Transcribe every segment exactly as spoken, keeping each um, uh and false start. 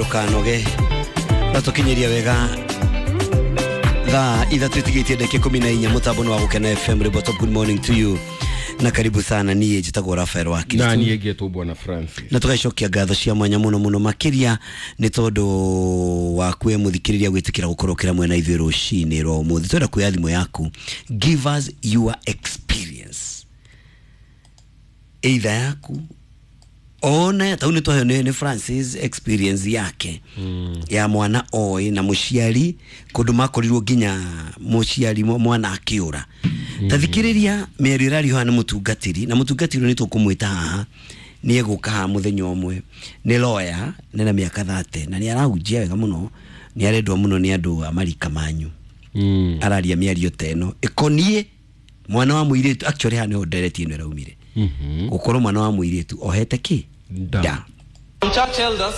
Kanoge natukinyiria wega thaa ithatu itigitie ndagika ikumi na inya mutambo wa Gukena F M. Ribotop, good morning to you na karibu sana. Niĩ njĩtagwo Rafael wa Kristo na niĩ ngetwo Bwana Francis, na tugacokia ngatho cia mwanya muno muno makiria nĩ tondũ waku we mũthikĩrĩria gwĩtĩkĩra gũkorwo kĩra mwena ithuĩ rũcinĩ rwa ũmũthĩ. Twenda kuoya thimũ yaku, give us your experience either yaku ona tau nĩ twaheo nĩ Francis experience yake mm. ya mwana oĩ na mũciari kũndũ makorirwo nginya mũciari mwana akĩũra. mm. Tathikĩrĩria mĩario ĩrario haha nĩ mũtungatĩri, na mũtungatĩri nĩ tũkũmwĩta haha nĩ egũka haha mũthenya ũmwe. Nĩ lawyer, nĩ na mĩaka thate na nĩ arahunjia wega mũno, nĩ arendwo mũno nĩ andũ a marika manyu. mm. Araria mĩario ta ĩno ĩkoniĩ mwana wa mũirĩtu. Actually haha nĩho ndereti ĩno ĩraumire. Mm-hmm. Gũkorwo mwana wa mũirĩtu ohete ki da. Church elders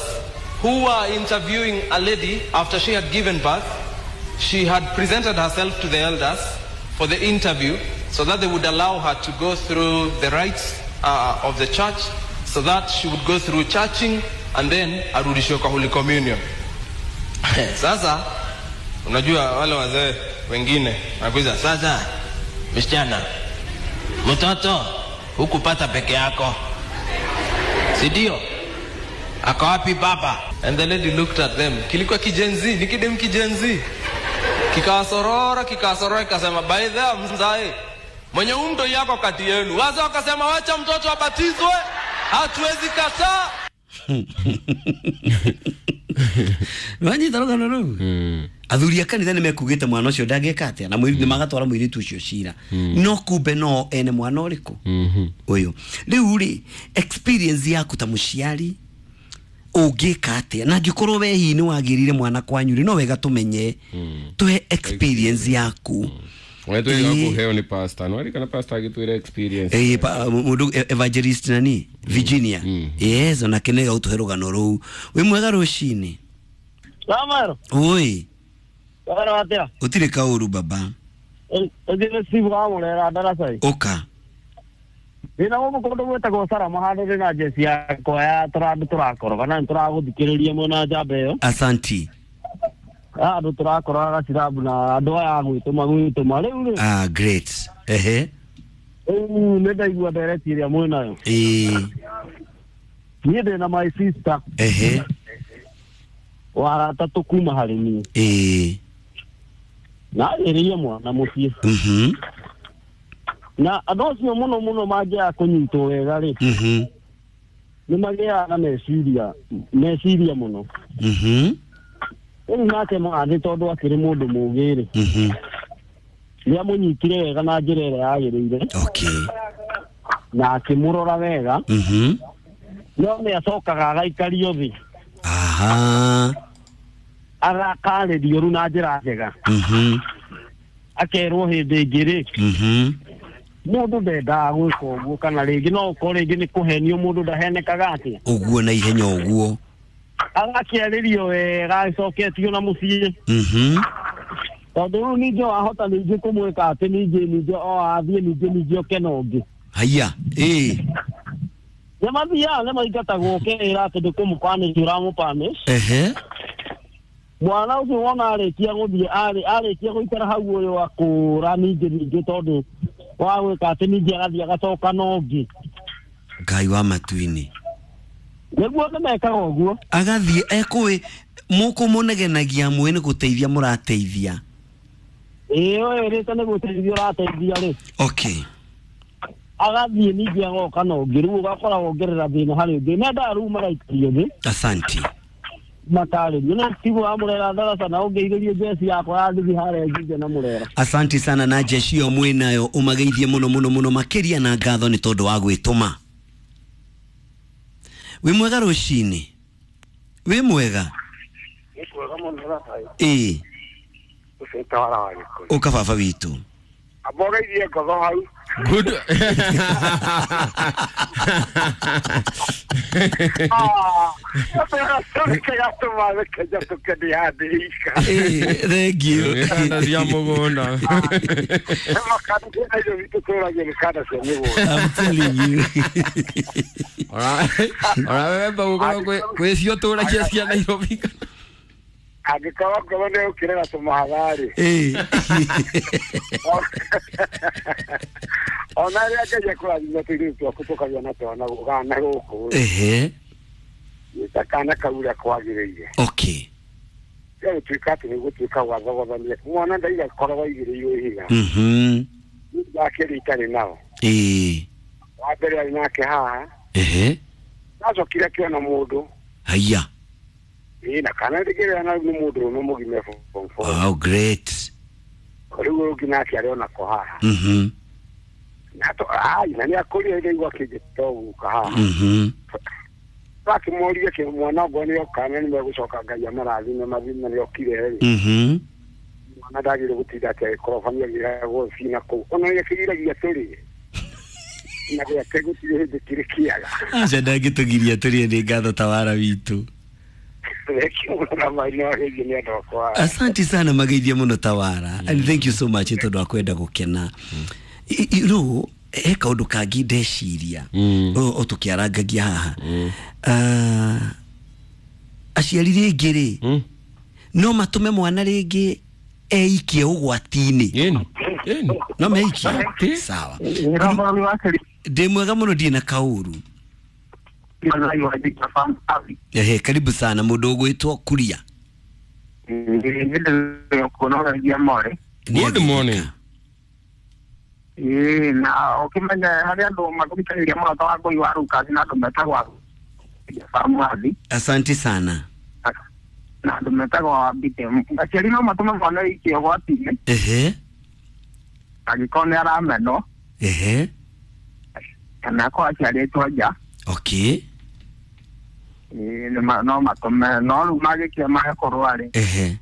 who were interviewing a lady after she had given birth, she had presented herself to the elders for the interview so that they would allow her to go through the rites uh, of the church, so that she would go through churching and then arudishwe kwa Holy Communion. Sasa unajua wale wazee wengine wanakuuliza, sasa msichana, mtoto hukupata peke yako, si ndio? Ako wapi baba? And the lady looked at them. Kilikuwa kijenzi, ni kidem kijenzi. Kikawasorora, kikawasorora, kikasema, by the mzae, mwenye umto yako kati yenu. Wazee wakasema, wacha mtoto abatizwe, hatuwezi kataa. Wanyita rugano rũu. Athuri a kanitha nĩmekugĩte mwana ũcio ndangĩka atĩa, na mũirĩtu nĩmagatwara mũirĩtu ũcio cira. No kumbe no ene mwana ũrĩkũ ũyũ. Rĩu rĩ, experience yaku ta mũciari ũngĩka atĩa, na angĩkorwo we hihi nĩwagĩrire mwana kwanyu rĩ, no wega tũmenye, tũhe experience yaku. Wetwega kuheo ni pastor, no arikana pastor agitwira experience. Eh, mundu evangelist nani Virginia. Yes, ona kenega utuhe rugano rũu. Wĩ mwega rũcinĩ? Lamaro. Oi. Lamaro atia? Utire kauru baba. Ugire sibu wa murera darasai. Oka. Ndina gũkũ kũndũ gwĩtagwo Salama handũ ndĩ na jeci yakwa ya tũrandũ tũrakoroga na nĩtũragũthikĩrĩria mwena njamba ĩyo. Asanti. Andũ tũrakoroga gacirabu na andũ aya gwĩtũma gwĩtũma rĩu rĩ. Ah, great. Ehe. Rĩu nĩ ndaigua ndereti ĩrĩa mwĩnayo. Ĩĩ. Niĩ ndĩ na my sister. Ehe. Wa gatatũ kuma harĩ niĩ. Ĩĩ. Na agĩrĩire mwana mũciĩ. Mhm. Na andũ acio mũno mũno mangĩaga kũnyitwo wega rĩ. Mhm. Nĩ magĩaga na meciria meciria mũno. Mhm. Rĩu nake mwathĩ tondũ akĩrĩ mũndũ mũũgĩ rĩ. Mhm. Nĩ amũnyitire wega na njĩra ĩrĩa yagĩrĩire. Okay. Na akĩmũrora wega. Mhm. No nĩ acokaga agaikario thĩ. Aha. Agakarĩrio rĩu na njĩra njega. Mhm. Akerwo hĩndĩ ĩngĩ rĩ. Mhm. Mũndũ ndendaga gwĩka ũguo, kana rĩngĩ no ũkorwo rĩngĩ nĩ kũhenio, mũndũ ndahenekaga atĩa. Ũguo na ihenya ũguo. Agakĩarĩrio wega agĩcoketio na mũciĩ. Mhm. Tondũ rĩu ningĩ wahota ningĩ kũmwĩka atĩ ningĩ ningĩ o athiĩ ningĩ ningĩ oke na ũngĩ. Haiya, ĩĩ. Nĩ mathiaga nĩ maingatagwo ũkeĩra atĩ ndũkũmũpanish ũramũpanish. Ehe. Mwana ũcio wona arĩkia gũthiĩ arĩkia gũikara hau ũyũ akũra ningĩ ningĩ tondũ wa gwĩka atĩ ningĩ agathiĩ agacoka na ũngĩ. Ngai wa matu-inĩ. Nĩguo nĩmekaga ũguo. Agathiĩ ekũĩ mũkũmũnegenagia mwĩ nĩ gũteithia mũrateithia. Ĩĩ ũyũ nĩ gũteithia ũrateithia rĩ. Okay. Agathiĩ ningĩ agoka na ũngĩ, rĩu ũgakora wongerera thĩna harĩ ũngĩ. Mendaga rĩu magaikario thĩ. Asanti. Makarĩrio na Steve wa Murera darasa na ũngeithĩrie jeci yakwa ya ndithi harĩa Njinja na Murera. Asanti sana na jeci ĩyo mwĩnayo ũmageithie mũno mũno mũno makĩria na ngatho nĩ tondũ wa gwĩtũma. Wĩ mwega rũcinĩ? Wĩ mwega? Nĩ mwega mũno Rafael. Ĩĩ. Ũcio tawara wa Gĩkũyũ. Ũka baba witũ. Ambogeithie ngotho hau. Good. Eh, thank you. Kanda cia mũgũnda. I'm telling you. Ora ora wemba gũkorwo kwĩ kwĩ cio tũragia cia Nairobi. Angĩkorwo ngoro nĩ ũkĩrega tũmahatharĩ. Eh. Ona rĩrĩa Ngai akũrathima tũirĩtu twaku tũkagĩa na twana gana gũkũ Ehe. ta kana kau ũrĩa kwagĩrĩire. Okay. Rĩu gũtuĩka atĩ nĩ gũtuĩka gwathogothania mwana ndaiga koragwo aigĩrĩirwo ihiga. Mhm. Ndakĩrĩ itarĩ nao. Eh. Wa mbere arĩ nake haha. Ehe. Nacokire akĩona mũndũ. Haya. Ĩĩ na kana ndĩkĩrĩa na nĩ mũndũ ũmwe mũgima form four. Wow, great. Rĩu ũngĩ nake arĩ onako haha. Mhm. Na to ai na nĩ akũrire rĩu akĩnjĩta gũka haha. Mhm. Akĩmũria kĩ mwana ũguo nĩ oka na nĩ megũcoka Ngai amarathime mathime nĩ okire rĩ. Mhm. Mwana ndagĩrĩire gũtinda atĩ agĩkorobania agĩragwo cina kũu. Ona nĩ akĩgiragia tũrĩe. Na gwake gũtirĩ hĩndĩ kĩrĩ kĩaga. Aca ndangĩtũgiria tũrĩe nĩ ngatho tawara witũ. Asante sana mageithia mũno tawara. And thank you so much tondũ wa kwenda gũkena. You know, he kaũndũ kangĩ ndeciria o tũkĩarangagia haha. Ah, aciari rĩngĩ rĩ no matũme mwana rĩngĩ eikie ũgwati-inĩ. No meikie. Sawa. Ndĩ mwega mũno ndirĩ na kaũru. Ehe, karibu sana mũndũ ũgwĩtwo Kuria. Good morning. Eh, na ukimenya harĩa andũ mathomithagĩria mũno ta Wangũi wa Lucas na andũ metagwo Famwathi. Asante sana. Na andũ metagwo Mbite. Aciari no matũme mwana aikie ũgwati-inĩ. Ehe. Angĩkorwo nĩ aramenwo. Ehe. Kana akorwo aciarĩtwo nja. Okay. Eh, no matũme no rĩu magĩkia magakorwo arĩ. Ehe.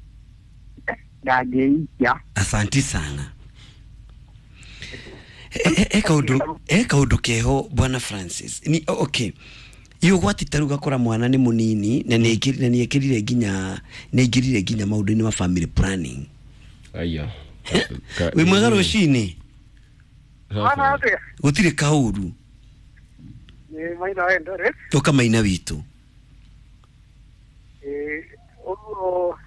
Ndangĩikia. Asante sana. E kaundu e kaundu keho bwana Francis ni okay iyo gwati taruga kora mwana ni munini na ni na ni ekirire nginya ni ingirire nginya maundu-inĩ ma family planning. Aya wi mwega rucini gutire kauru ni maina wendore toka maina witu eh uguo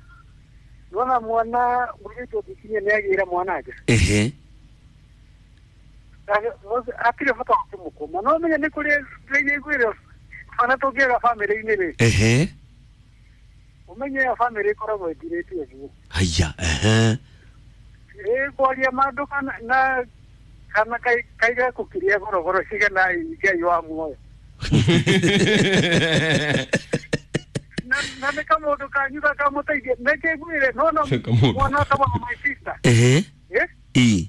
nona mwana mwitu bikinye ni agira mwana aje ehe atire bata kumukoma no menye ni kuri ngwire bana tũngĩaga family-inĩ rĩ ehe umenye ya family ĩkoragwo ĩthirĩte ũguo haya ehe ĩ kwaria mandũ kana na kana kaiga kũkiria gorogoro cigana Ngai wa muoyo na na nĩ kamũndũ kanyu gakamũteithia nĩkĩ ngwire no no mwana kama my sister ehe ĩ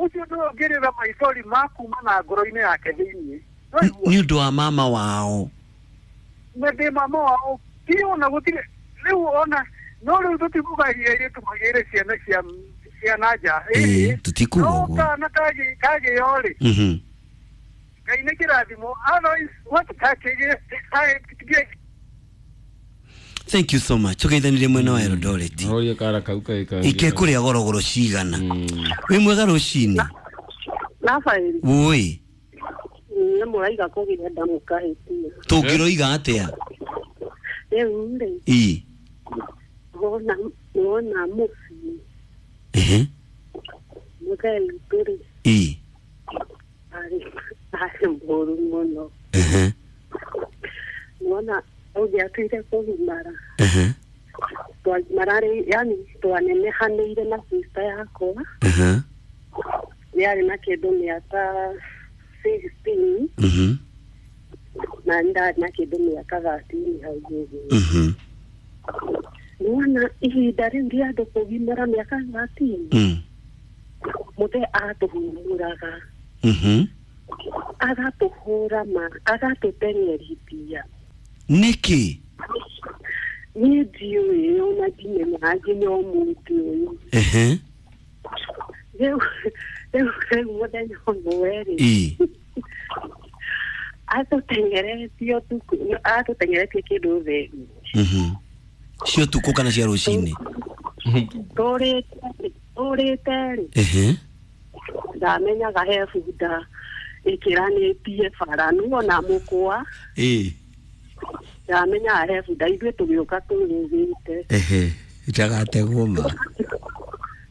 ucio nĩwe ũngĩrĩra maithori ma kuma na ngoro-inĩ yake thĩiniĩ nĩ ũndũ wa mama wao na ndĩ mama wao ti ona gũtirĩ rĩu ona no rĩu tũtikugagia airĩtu magĩre ciana cia ciana nja ĩĩ tũtikuga ũguo no kana kagĩo rĩ Ngai nĩ kĩrathimo otherwise what kakĩgĩe Thank you so much. Tugeithanire mwena wa Eldoret. Roria kara kau kai kai. Ike kuria gorogoro cigana. Wi mwega rucini. Rafael. Woi. Nĩ mũraiga kũgĩra ndamũkahĩtia. Tũngĩroiga atĩa? Rĩu rĩ. Ĩ. Wona wona mũciĩ. Ehe. Mũthee witũ rĩ. Ĩ. Arĩ arĩ mũru mũno. Ehe. Wona ũngĩatuire kũgimara. Ehe. Twagimararĩ yani twanenehanĩire na sister yakwa. Ehe. Yarĩ na kĩndũ mĩaka sixteen. Mhm. Na ndarĩ na kĩndũ mĩaka thirteen hau ũguo. Mhm. Nĩwona ihinda rĩu rĩa andũ kũgimara mĩaka thirteen. Mm. Mũthee atũhumũraga. Mhm. Agatũhũra ma agatũteng'erithia. Nĩkĩ? Niĩ ndiũĩ ona ndimenyaga nginya ũmũthĩ ũyũ. Ehe. Rĩu rĩu rĩu mũthenya ũmwe rĩ. Ĩ. Atũteng'eretie ũtukũ, atũteng'eretie kĩndũ thĩ. Mhm. Cio tukũ kana cia rũcinĩ? Tũrĩte tũrĩte rĩ. Ehe. Ndamenyaga he bunda ĩkĩranĩtie bara nĩwona mũkwa. Ĩĩ. Ndamenyaga he bunda ithuĩ tũgĩũka tũrũgĩte. Ehe. Itagategwo ma.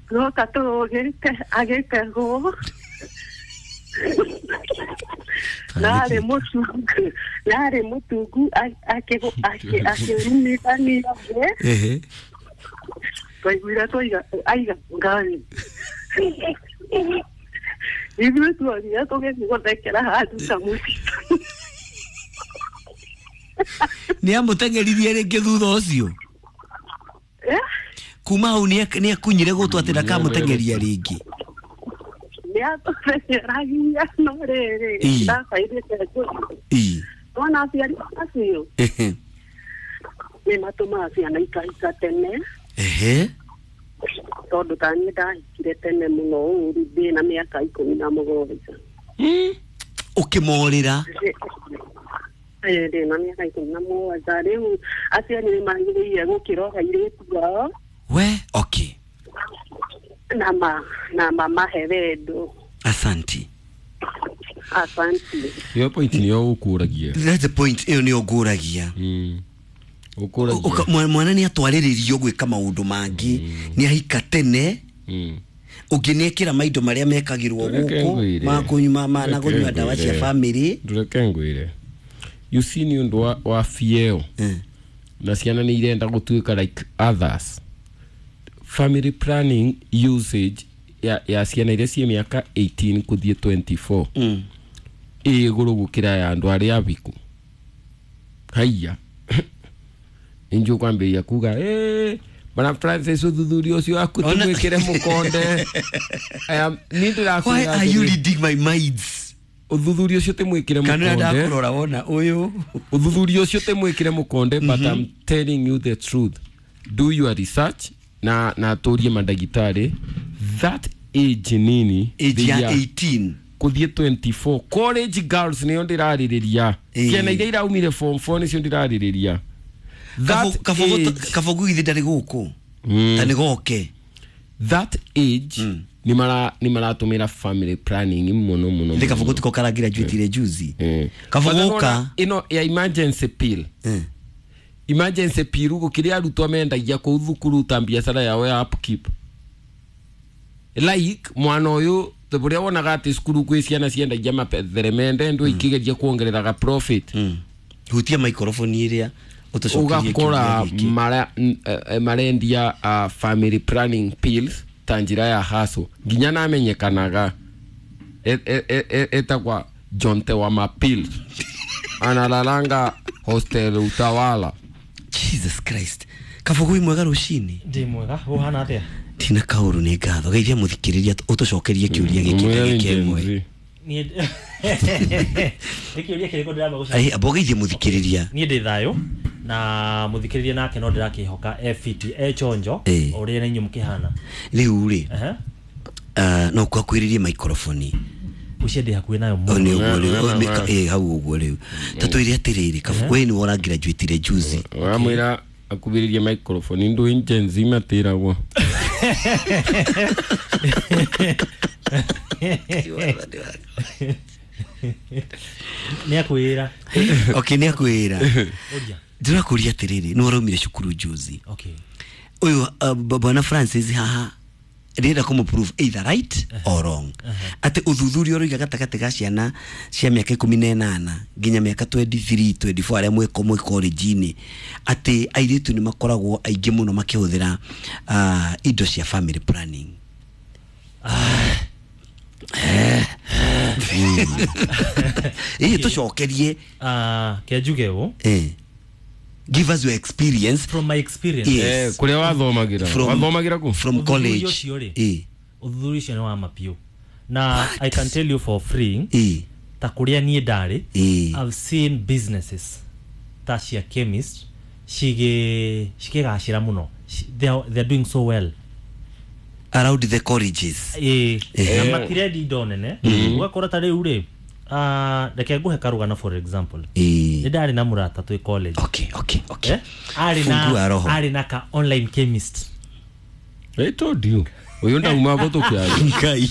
Tũgoka tũrũgĩte agĩtegwo. Narĩ mũtungu narĩ mũtungu akĩrumithania thĩ. Ehe. Twaiguire twaiga aiga ngari. Ithuĩ tuonire tũgĩthiĩ gũthekera handũ ta mũtitũ. Nĩ amũteng'eririe rĩngĩ thutha ũcio? Eh? Kuma hau nĩ akunyire gũtũ atĩ ndakamũteng'eria rĩngĩ. Nĩ atũteng'eragia no rĩrĩ ndabairĩte ngũi. Wona aciari acio Ehe. nĩ matũmaga ciana ikahika tene. Ehe. Tondũ ta niĩ ndahikire tene mũno ũru ndĩ na mĩaka ikũmi na mũgwanja. Ũkĩmorĩra? Ĩĩ ndĩ na mĩaka ikũmi na mũgwanja. Rĩu aciari nĩ magĩrĩire gũkĩrora airĩtu ao. We, okay. Na ma na mamahe wendo. Asanti. Asanti. Iyo point niyo ũkũragia. That's the point ĩyo nĩyo ngũragia. Mm. Ũkũragia. Mwana nĩ atwarĩrĩrio gwĩka maũndũ mangĩ, nĩ ahika tene. Mm. Ũngĩ nĩ ekĩra maindo marĩa mekagĩrwo gũkũ ma kũnyua ma na kũnyua ndawa cia family. Ndũreke ngwĩre. You see nĩ ũndũ wa, wa fieo. Mm. Na ciana nĩ irenda gũtuĩka like others. Family planning usage ya, ya ciana iria ciĩ mĩaka eighteen kũthiĩ twenty-four. Mm. Ĩ igũrũ gũkĩra ya andũ arĩa abiku. Haiya. Injũ kwambĩrĩria kuga, eh, Bwana Francis ũthuthuria ũcio waku tũmwĩkĩre mũkonde. I am niĩ ndĩrakwĩra Why are you atĩrĩ, reading my minds? Ũthuthuria ũcio tũmwĩkĩre Kana mũkonde. ndakũrora wona ũyũ. Ũthuthuria ũcio tũmwĩkĩre mũkonde, but I'm telling you the truth. Do your research na na tũrie mandagĩtarĩ. That age nini Age ya eighteen kũthiĩ twenty-four college girls nĩo ndĩrarĩrĩria. Ĩĩ. Ciana iria iraumire form four nĩcio ndĩrarĩrĩria. That age Kabogo githĩ ndarĩ gũkũ. Mm. Ta nĩ goke. That age Mm. nĩ mara nĩ maratũmĩra family planning mũno mũno. Ndĩ Kabogo tiko karagraduate juzi. Mm. Kabogo But ka nĩwona ĩno ya emergency pill. Mm. Emergency pill gũkĩrĩ arutwo mendagia kũu thukuru ta biacara yao ya upkeep. Like mwana ũyũ tũrĩa wonaga atĩ cukuru kwĩ ciana ciendagia maperemende ndũ ikĩgeria kuongereraga profit. Mm. Hutia microphone ĩrĩa ũtũcokerie Ũgakora kĩũria gĩkĩ. mara, n- eh, marendia uh, family planning pills ta njĩra ya hustle nginya namenyekanaga etagwa Jonte wa mapills analalanga hostel Utawala. Jesus Christ. Kabogo wĩ mwega rũcinĩ? Ndĩ mwega, ũhana atĩa? Tina kaũru nĩ ngatho. Geithia mũthikĩrĩria ũtũcokerie kĩũria gĩkĩ ndagĩka ĩmwe. Niĩ nĩ kĩũria kĩrĩkũ ndĩramba gũcokia? Ai, amba ũgeithie mũthikĩrĩria. Niĩ ndĩ thayũ na mũthikĩrĩria nake no ndĩrakĩhoka e fiti e chonjo Ĩĩ. ũrĩa na inyuĩ mũkĩhana. Rĩu rĩ, Ehe. ah, no kwakwĩrĩrie microphone. Ũcio ndĩ hakuhĩ nayo O mũno. nĩ ũguo rĩu, Wema, o, wema. mĩka- ĩ, hau ũguo rĩu. Ta twĩre atĩrĩrĩ, Kabogo we nĩwe ũragraduatire juzi. Wamwĩra akubĩrĩrie microphone ndũ Gen Z matĩragwo. Nĩ akwĩra. Okay, nĩ akwĩra. Ũria. Ndĩrakũria atĩrĩrĩ, nĩwe ũraumire cukuru juzi. Okay. Ũyũ uh, bwana Francis haha ndĩrenda kũmũ-prove either right or wrong. Atĩ ũthuthuria ũroiga gatagatĩ ga ciana cia mĩaka ikũmi na ĩnana nginya mĩaka twenty-three, twenty-four arĩa mwĩ mwĩ college-inĩ atĩ airĩtu nĩ makoragwo aingĩ mũno makĩhũthĩra uh, indo cia family planning. Ĩĩ tũcokerie. Ah, ke njuge ũũ. Eh. Give us your experience. From my experience. Yes. Eh, kũrĩa wathomagĩra. From- Wathomagĩra kũ? From Ũthuthuria college. ũcio rĩ, Eh. ũthuthuria ũcio nĩ wa mapiũ. Na I can tell you for free, Eh. ta kũrĩa niĩ ndarĩ, Eh. I've seen businesses ta cia chemist cigĩ cikĩgacĩra mũno. They are, they are doing so well. Around the colleges. Ĩĩ, Eh. na matirendi indo nene. Ũgakora ta rĩu rĩ, Ah, reke nguhe karugano for example. Ĩĩ. Nĩ ndarĩ na mũrata twĩ college. Okay, okay, okay. Eh? Arĩ Fungua na roho. arĩ na ka online chemist. I told you uyu ndauma gũtũkia Ngai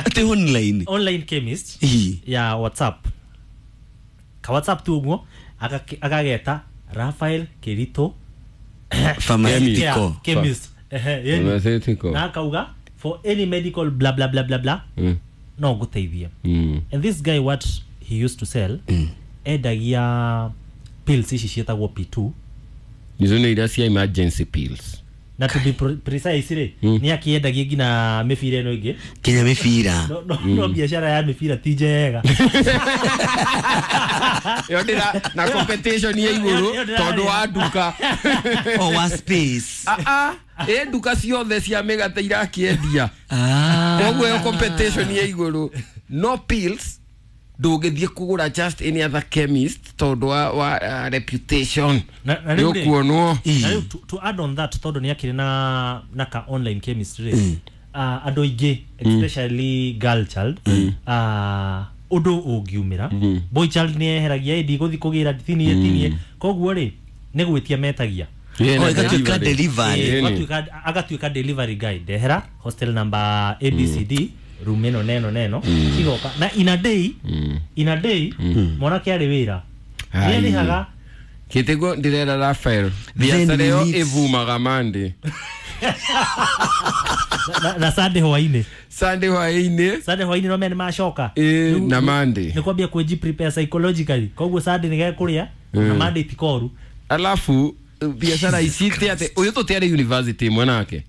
atĩ online. Online chemist Ĩĩ. ya WhatsApp. Ka WhatsApp tu ũguo agake- agageta Raphael Kirito Pharmaceutical. Yeah, chemist. Ehe, yani. Pharmaceutical. Na akauga for any medical bla bla bla bla bla Mm. no ngũteithie. Mm. And this guy, what he used to sell, endagia pills ici ciĩtagwo P two. Icio nĩ iria cia emergency pills. Na to be pre- precise rĩ, Mm. nĩ akĩendagia nginya mĩbira ĩno ĩngĩ. Kinya mĩbira. No, no, no biacara ya mĩbira ti njega. Ĩyo ndĩra na competition ya igũrũ Ĩyo ndĩra- tondũ wa nduka. O wa space. Ah, ah, ĩ nduka ciothe cia mĩgate irakĩendia. Ah. Koguo ĩyo competition ya igũrũ. No pills ndũngĩthiĩ kũgũra just any other chemist tondũ wa, wa uh, reputation. Na- na rĩu rĩ- Nĩũkuonwo. Na rĩu to, to add on that, tondũ nĩ akĩrĩ na na ka online chemist rĩ, uh, andũ aingĩ especially girl child, uh, ũndũ ũngiumĩra boy child nĩ eheragia ĩ ndigũthiĩ kũgĩra tinie tinie, koguo rĩ nĩ gwĩtia metagia. Yeah, Oh, na ĩgatuĩka delivery. delivery. Ĩ, Ĩni. ũgatuĩka- agatuĩka delivery guy, ndehera hostel number A B C D, room ĩno neno neno cigoka na in a day, in a day mwanake arĩ wĩra Ai. nĩ arĩhaga. Kĩtĩguo ndĩrera Rafael Then biacara ĩyo we need- ĩvumaga Monday. na- na Sunday hwainĩ. Sunday hwaĩ-inĩ. Sunday hwainĩ no mene macoka. Ĩ, na Monday. Nĩ kwambia kwĩji prepare psychologically, koguo Sunday nĩ gekũrĩa na Monday ti koru. Alafu biacara ici ti atĩ ũyũ tũtiarĩ university ĩmwe nake,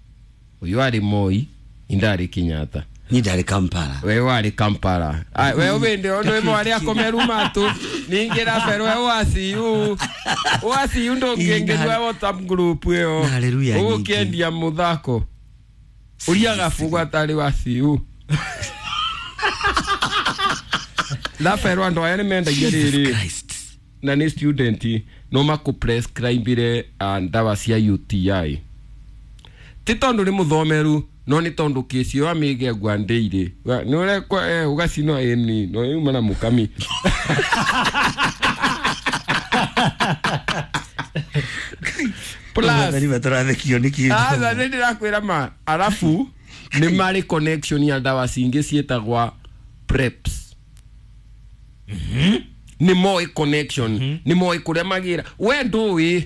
ũyũ arĩ Moi indarĩ Kenyatta. Niĩ ndarĩ Kampala. We warĩ Kampala. Ai, we ũbĩndĩ ũndũ ĩmwe arĩa akomeru matũ ningĩ Rafael we waciu waciu ndũngĩngĩrua WhatsApp group ĩyo. Hallelujah nyingĩ. Ũgũkĩendia mũthako ũria gabugu atarĩ waciu Rafael andũ aya nĩ mendagia rĩrĩ Christ. Na nĩ student no makũprescribire uh, ndawa cia U T I ti tondũ nĩ mũthomeru no nĩ tondũ kĩci ĩyo amĩgegua ndĩirĩ nĩ ũrekwa eh, ũgacinwo ĩni no yuma na mũkami. Plus Wathani matũrathekio nĩ kĩndũ. Aca nĩ ndĩrakwĩra ma arabu nĩ marĩ connection ya ndawa cingĩ ciĩtagwa preps, nĩ moĩ connection, nĩ moĩ kũrĩa magĩra. We ndũĩ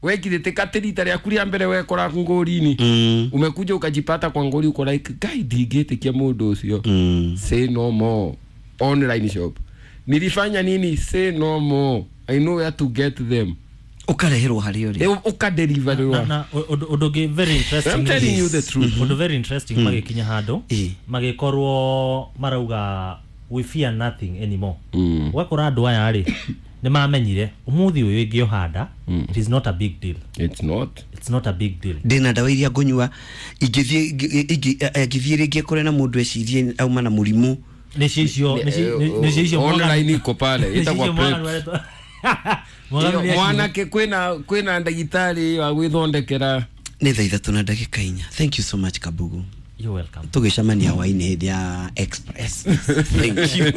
wekirĩte katĩ rita rĩaku rĩa mbere wekora ngũri-inĩ, Mm. umekuja ukajipata kwa ngori, uko like, "Guy, ndingĩtĩkia mũndũ ũcio." Mm. Say no more. Online shop nilifanya nini? Say no more, I know where to get them. Ũkareherwo harĩa ũrĩ. Eh, ũkadeliverwa. Na na ũndũ ũndũ ũngĩ very interesting, I'm telling you the truth. Ũndũ very interesting, magĩkinya handũ Ĩ. magĩkorwo marauga we fear nothing anymore. Mm. Ũgakora andũ aya rĩ nĩ mamenyire ũmũthĩ ũyũ ingĩohanda, it is not a big deal. It's not. It's not a big deal. Ndĩna ndawa iria ngũnyua ingĩthiĩ ingĩ- angĩthiĩ rĩngĩ akore na mũndũ ecirie auma na mũrimũ. Nĩcio icio nĩcio nĩcio icio Online iko pale nĩcio ĩtagwa icio Mwaganu preps. aretwo- Mwaganu nĩ akiuga. Mwanake kwĩna kwĩna ndagĩtarĩ wa gwĩthondekera. Nĩ thaa ithatũ na ndagĩka inya. Thank you so much, Kabugu. You're welcome. Tũgĩcemania hwainĩ hĩndĩ ya Express. Thank you.